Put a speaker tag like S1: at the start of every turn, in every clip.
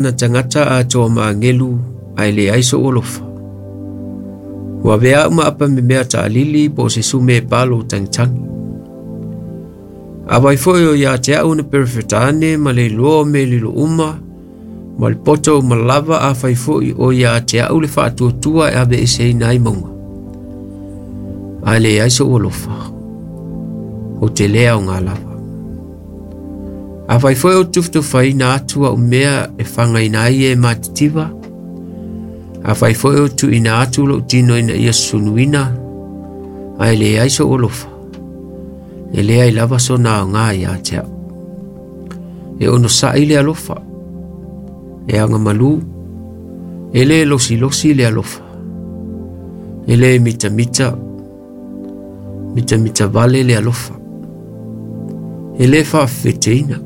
S1: Na tagata atoa ma agelu ae leai sou alofa. Ua avea au ma apa memea taalili po o se sume palo tagitagi. Afai foi o ia te au na perofeta ane ma le iloa o mea lilo uma ma le poto uma lava afai foi o ia te au le faatuatua e aveeseina ai mauga, ae leai sou alofa, ou te le aoga lava. Afai foi ou te tufatufaina atu au mea e fagaina ai e matitiva, afai foi ou tuuina atu lou tino ina ia sunuina, ae leai sou alofa, e leai lava sona aoga ia te au. E onosai le alofa, e agamalu, e le losilosi le alofa, e le mitamita, mitamita vale le alofa, e le faafefeteina,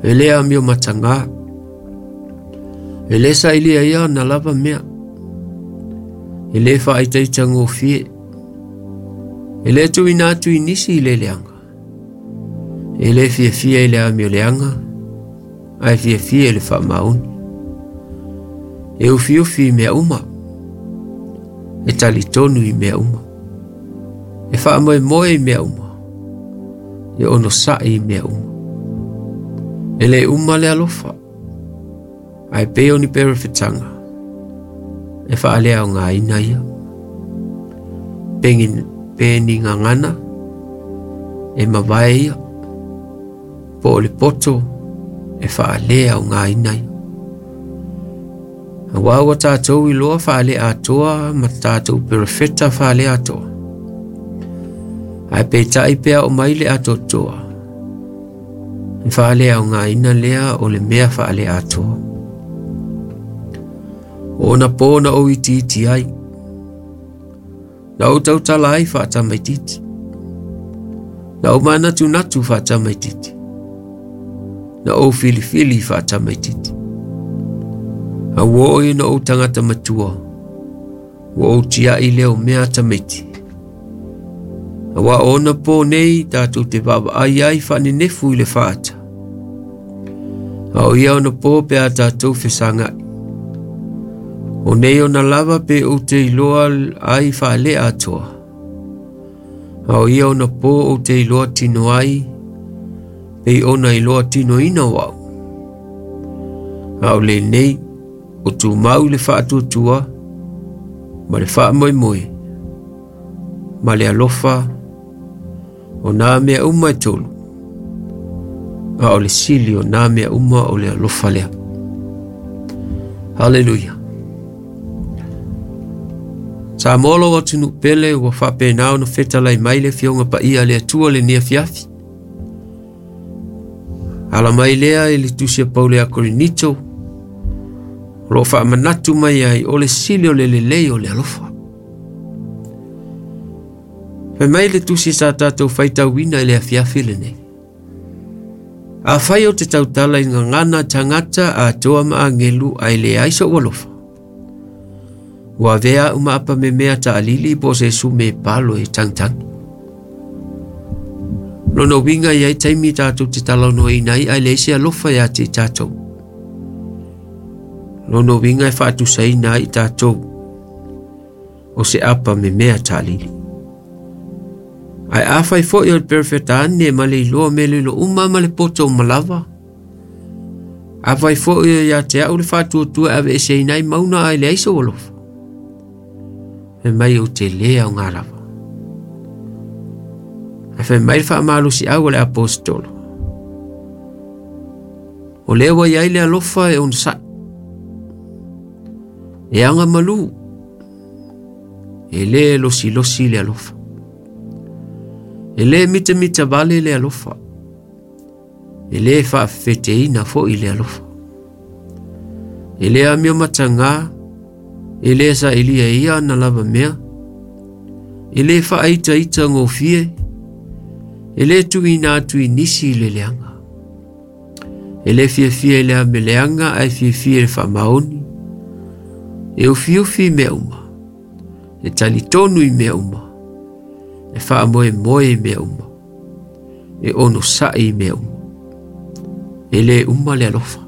S1: e le amio matagā, e le sailia ia ona lava mea, e le faaitaitagofie, e le tuuina atu i nisi i le leaga, e le fiafia i le amioleaga, ae fiafia i le faamaoni. E ufiufi i mea uma, e talitonu i mea uma, e faamoemoe i mea uma, e onosai i mea uma. E le uma le alofa, ae pei o ni perofetaga, e faaleaogaina ia. Pe ni gagana, e mavae ia, po o le poto e faaleaogaina ia. Auā ua tatou iloa faaleatoa ma tatou perofeta faaleatoa. Ae peitai pe a oo mai le atoatoa, e faaleaogaina lea o le mea faaleatoa. O ona pō na ou itiiti ai, na ou tautala ai faatamaititi, na ou manatunatu faatamaititi, na ou filifili faatamaititi. A ua oo ina ou tagata matua, ua ou tiai lea o mea tamaiti. Auā o ona pō nei tatou te vaavaai ai faanenefu i le faata. A o ia ona pō pe a tatou fesagai. O nei ona lava pe ou te iloa ai faaleatoa. A o ia ona pō ou te iloa tino ai, pei ona iloa tinoina o au. A o lenei, o tumau le faatuatua ma le faamoemoe ma le alofa o nā mea uma e tolu, a o le sili o nā mea uma o le alofa lea. Haleluia. Samoa lou atunuu pele ua faapena ona fetalai mai le Afioga Paia a le Atua lenei afiafi. Ala mai lea i le tusi a Paulo ia Korinito, o lo o faamanatu mai ai o le sili o le lelei o le alofa. Fai mai le tusi sa tatou faitauina i le afiafi lenei. Afai ou te tautala i gagana tagata atoa ma agelu ae leai sou alofa, ua avea au ma apa memea taalili po o se sume palo e tagitagi. Lona uiga e i ai taimi tatou te talanoaina ai ae leai se alofa ia te i tatou. Lona uiga e faatusaina ai i tatou o se apa memea taalili. Ae afai foi o le perofeta ane ma le iloa mea lilo uma ma le poto uma lava, afai foi o ia te au le faatuatua e aveeseina ai mauna ae leai sou alofa, fai mai ou te le aoga lava. Ae fai mai le faamalosiau a le aposetolo, o lea ua i ai le alofa e onosai, e agamalu, e le losilosi le alofa, e le mitamita vale le alofa, e le faafefeteina foi le alofa, e le amio matagā, e le sailia ia ana lava mea, e le faaitaita gofie, e le tuuina atu i nisi i le leaga. E le fiafia i le ameleaga ae fiafia i le faamaoni. E ufiufi i mea uma, e talitonu i mea uma, e faamoemoe i mea uma, e onosai i mea uma. E le uma le alofa.